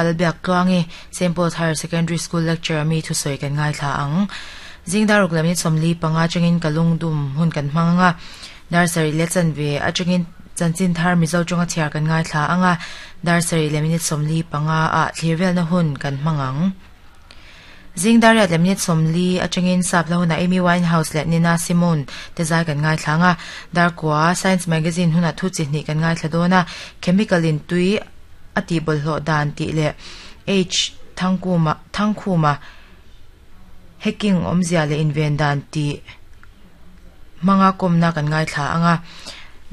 Lalbiaktluangi, Saint Paul's Higher Secondary School lecturer mi thusawi kan ngaithla ang. Zing dar ruk leh minute 45 atangin ka lungdum hun kan hmang ang a, dar sarih leh chanve atangin chanchin thar Mizo tawnga chhiar kan ngaithla ang a, dar sarih leh minute 45 ah thlir velna hun kan hmang ang. Zing dar riat leh minute 40 atangin sap hla hunah Amy Winehouse leh Nina Simone te zai kan ngaithla ang a, dar kua Science Magazine hunah thu chi hnih kan ngaithla dawn a, Chemical in tui a tih bawlhhlawh dan tih leh H Thangkuma Thangkhuma hacking awmzia leh inven dan tih hmanga kawmna kan ngaithla ang a.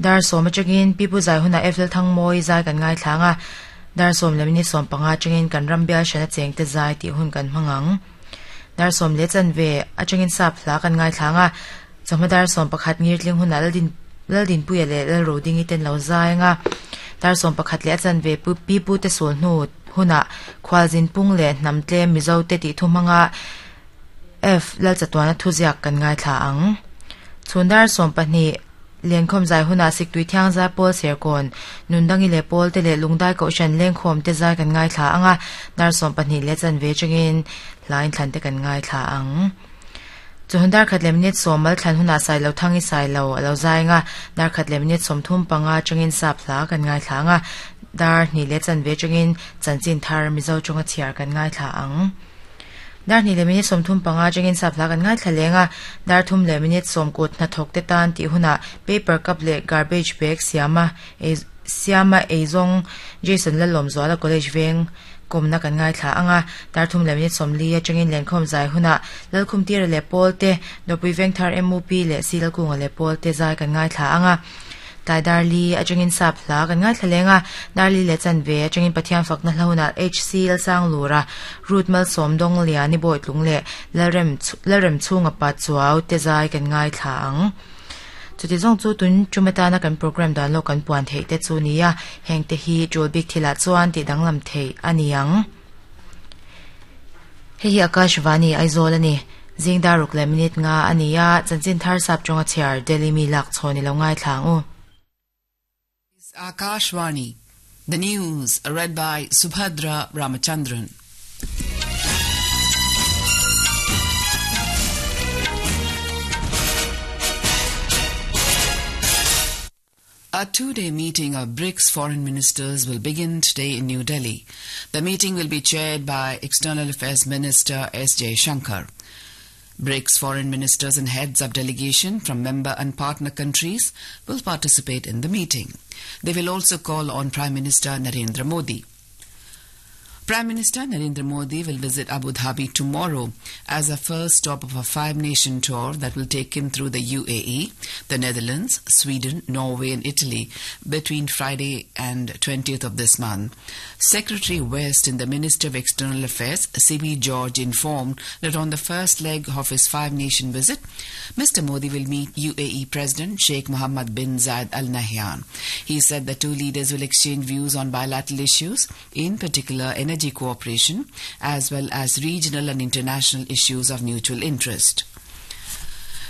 Dar sawm atangin Pipu zai hunah Eiffel Thangmawi zai kan ngaithla ang a, dar sawm leh minute 15 atangin kan ram bial hrana chengte zai tih hun kan hmang ang. Dar sawm leh chanve atangin sap hla kan ngaithla ang a, chawhma dar 11 ngirtling hunah Laldin Laldinpuia leh Lalrodingi ten lo zai ang a, dar 11 leh a chanve Pipu te sul hnu hunah Khualzin pung leh hnam tlem Mizo te tih thu hmanga F Lalchatuana thuziak kan ngaithla ang. Chhun dar 12 Lenkhawm zai hunah Siktui Thiangzai Pawl Serkawn, Nundangi leh Pawl te leh Lungdai Kohhran Lengkhawm te zai kan ngaithla ang a, dar 12 leh chanve atangin hlain thlan te kan ngaithla ang. Chawhnu dar khat leh minute 10 mal thlan hunah Sailo Thangi Sailo a lo zai ang a, dar khat leh minute 35 atangin sap hla kan ngaithla ang a, dar hnih leh chanve atangin chanchin thar Mizo tawnga chhiar kan ngaithla ang. Dar hnih leh minute 35 atangin sap hla kan ngaithla leng a, dar thum leh minute 10 kut hnathawk te tan tih hunah paper cup leh garbage bag siama ei siama eizawng Jason Lalawmzuala College veng kawmna kan ngaithla ang a, dar thum leh minute 40 atangin lenkhawm zai hunah Lalkhum Tira leh Pawl te, Dawpui Veng Thar MUP leh Si Lalkunga leh Pawl te zai kan ngaithla ang a, tlai dar li atangin sap hla kan ngaithla leng a, dar li leh chanve atangin Pathian fakna hla hunah HC Lalsanglura, Ruth Malsawm Dawng Liani Bawitlung leh Lalrem Lalrem chhunga pa Chuau te zai kan ngaithla ang. Chuti zawng chu tun tum atana kan program dan lawk kan puan theih te chu nia, heng te hi tul bik thilah chuan tih danglam theih a ni ang. Hei hi Akashvani Aizawl a ni. Zing dar ruk leh minute 5 a ni a, chanchin thar sap tawnga chhiar Delhi mi lak chhawn i lo ngaithla ang u. Akashvani, the news read by Subhadra Ramachandran. A two-day meeting of BRICS foreign ministers will begin today in New Delhi. The meeting will be chaired by External Affairs Minister S. Jaishankar. BRICS foreign ministers and heads of delegation from member and partner countries will participate in the meeting. They will also call on Prime Minister Narendra Modi. Prime Minister Narendra Modi will visit Abu Dhabi tomorrow as a first stop of a five-nation tour that will take him through the UAE, the Netherlands, Sweden, Norway and Italy between Friday and 20th of this month. Secretary West in the Ministry of External Affairs, C.B. George, informed that on the first leg of his five-nation visit, Mr. Modi will meet UAE President Sheikh Mohammed bin Zayed Al Nahyan. He said the two leaders will exchange views on bilateral issues, in particular energy cooperation, as well as regional and international issues of mutual interest.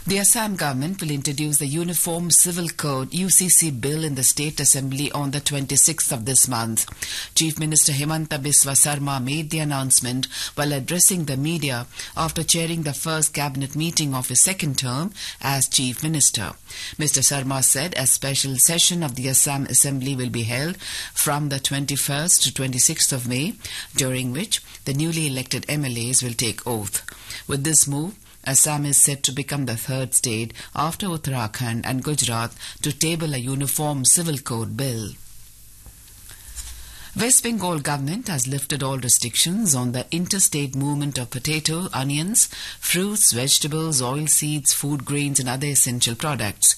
The Assam government will introduce the Uniform Civil Code UCC bill in the State Assembly on the 26th of this month. Chief Minister Himanta Biswa Sarma made the announcement while addressing the media after chairing the first cabinet meeting of his second term as Chief Minister. Mr. Sarma said a special session of the Assam Assembly will be held from the 21st to 26th of May, during which the newly elected MLAs will take oath. With this move, Assam is set to become the third state after Uttarakhand and Gujarat to table a uniform civil code bill. West Bengal government has lifted all restrictions on the interstate movement of potato, onions, fruits, vegetables, oil seeds, food grains and other essential products.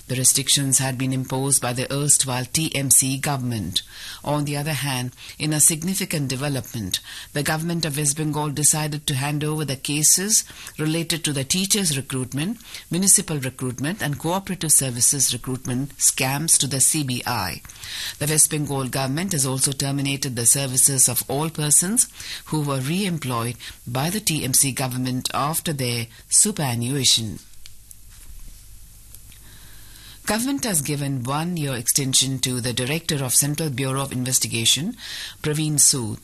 The restrictions had been imposed by the erstwhile TMC government. On the other hand, in a significant development, the government of West Bengal decided to hand over the cases related to the teachers' recruitment, municipal recruitment and cooperative services recruitment scams to the CBI. The West Bengal government has also terminated the services of all persons who were re-employed by the TMC government after their superannuation. Government has given 1 year extension to the Director of Central Bureau of Investigation, Praveen Sood,